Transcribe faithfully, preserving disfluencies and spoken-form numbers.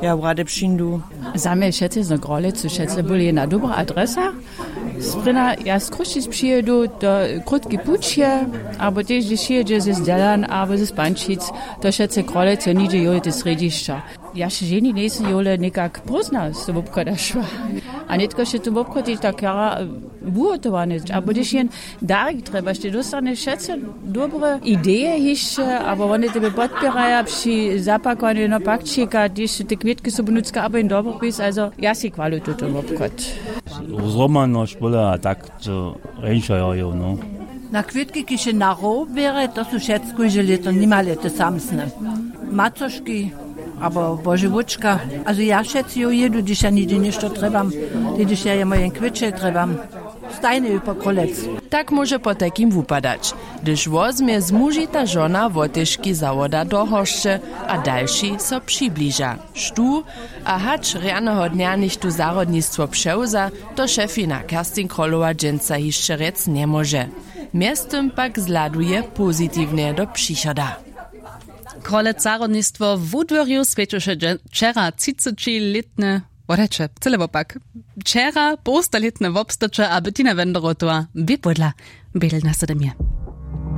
Ja rady přińdu. Za mje wšetcy z Grolicy wšetcy byli jedna dobra adresa. Sprěna ja z Chrósćic přijědu, to krótki puć je, abo tež hdyž přijědźe z Dźelan abo z Pančic, to wšetcy Grolicy, nihdźe jowite srjedźišća. Ja še ženi njejsym jowle někak prózdna z tym wobchoda šła. A nětko še tym wobchod tež tak jara wuhotowany, abo hdyž jen darik trjebaš, ty dóstanješ wšetcy dobre ideje hišće, abo wone tebje podpěraja při zapakowanju jedneho pakćika, hdyž te kwětki su ponutřka, abo jen dobropis, also ja sej chwalu tutón wobchod. Zhromadnosć bóle a tak, to rjeńša jo jo no. Na kwětki kiž je na row běre, to su wšetcy kóžde lěto nimale te samsne macoški abo božewóčka. Also ja wšetcy jo jědu, hdyž ja nihdźe něšto trjebam, hdyž ja jemu jen kwětčel trjebam. Stajnje ju po królec. Tak móže potajkim wupadać, hdyž wozmje zmužita žona wotežki zawoda do horšće a dalši so přibliža, štó a hač rjaneho dnja něchtó zahrodnistwo přewza, to šefina Kerstin Krolowa dźensa hišće rjec njemóže. Mjeztym pak zhladuje pozitiwnje do přichoda. Królec zahrodnistwo w wudwěrju swjećeše dźe- wčera třicećilětne, wodajće, cyle wopak, wčera połstalětne wobstaće a Bettina Wenderotowa bě pódla. Bědel na sedemje.